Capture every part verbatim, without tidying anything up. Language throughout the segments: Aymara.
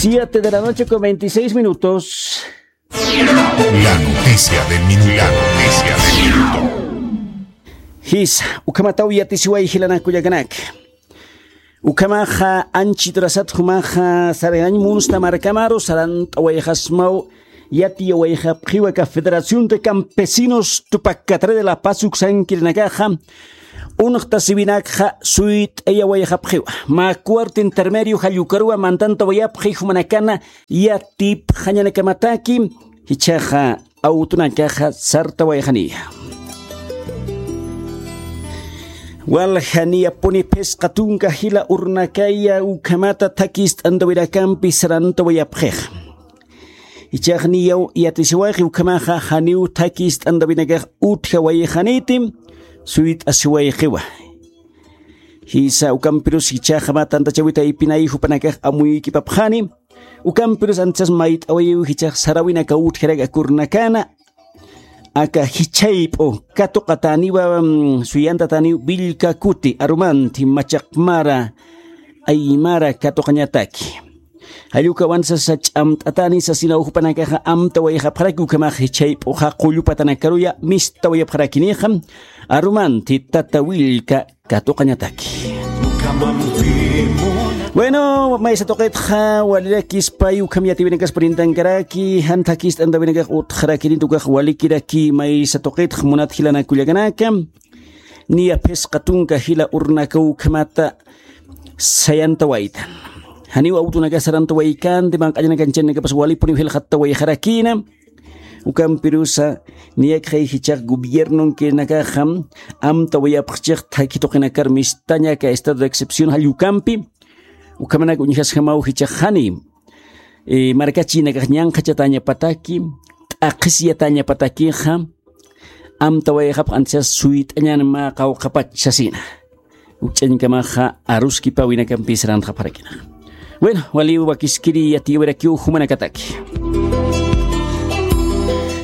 Siete de la noche con veintiséis minutos. La noticia del minuto. La noticia del minuto. Jisa, ukhamataw yatisiway jilanaka kullakanaka. Ukhamaxa anchhiturasat jumaxa sarinañ munsta markamaru sarant'awayxasmaw yatiyawayxapxiwa aka Federación de Campesinos Tupac Katare de La Paz uksankirinakaxa, unxtasiwinakxa suyt'ayawayxapxiwa. Mä cuarto intermedio jallukaruwa mantantawayapxi jumanakana yatipxañanakamataki, jichhaxa awtunakaxa sartawayxaniya. Walja niyapuni phisqa tunka jila urnakaya ukhamata thakist'antawinakampi sarantawayapxixa. Jichhax niyaw yatisiwayxi ukhamaxa janiw thakist'antawinakax utjawayxaniti, suyt'asiwayxiwa. Jisa ukampirus jichhaxa mä tantachäwi taypinay jupanakax amuykipapxani, ukampirus anchas mayt'awayiw jichhax saräwinaka utjaraki aka urnakana, aka jichhayp'u katuqatäniwa, mm, suyantatäniw Willka kuti arumanti machaq mara aymara katuqañataki. Jall ukawan sasa ch'amt'atäni sasinaw jupanakaxa amtawayxapxaraki ukhamax jichhayp'uxa qullu patanakaruya mistawayapxarakinixa arumanti tata Willka katuqañataki. Bueno, maysa tuqitxa walirakispa ukham yatiyawinakas purintankaraki, jan thakist'antawinakax utxarakirinti ukax walikiraki maysa tuqitxa munat jilanaka kullakanaka. Niya phisqa tunka jila urnaka ukhamata sayantawaytan. Janiw awtunakax sarantawaykanti, manq'añanakanchanakapas walipuniw jilxattawayxarakïna. Ukampirusa niyakxay jichhax gobiernonkirinakaxa amtawayapxchix thakhi tuqinakar mistaña aka estado de excepción jall ukampi. Ukhamanak uñjasjamaw jichhax jani, eh, markachïnakax ñanqhachatäñapataki, t'aqhisyatañapatakixa, amtawayxapx anchas suyt'añän mä qawqhapach sasina. Ukch'añkamaxa aruskipäwinakampis sarantxapxarakinax. Bueno, waliw wakiskiri yatiyawirakiw jumanakataki.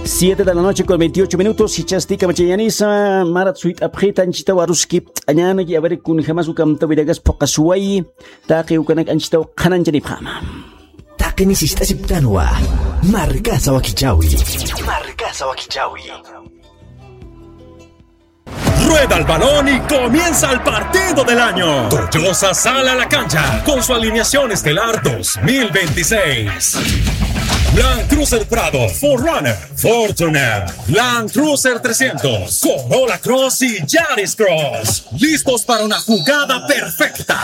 Siete de la noche con veintiocho minutos, jichhasti kamachañänisa, marat suyt'apxita anchhitaw aruskipt'añänaki, a ver, kunjamas ukamtawinakas phuqhasuwayi, taqi ukanak anchhitaw qhanañchanipxäma. Taqini sist'asiptanwa, markasa wakichäwi. Markasa wakichäwi. Rueda el balón y comienza el partido del año. Toyosa sale a la cancha con su alineación estelar dos mil veintiséis. Land Cruiser Prado, cuatro runner, Fortuner, Land Cruiser trescientos, Corolla Cross y Yaris Cross. Listos para una jugada perfecta.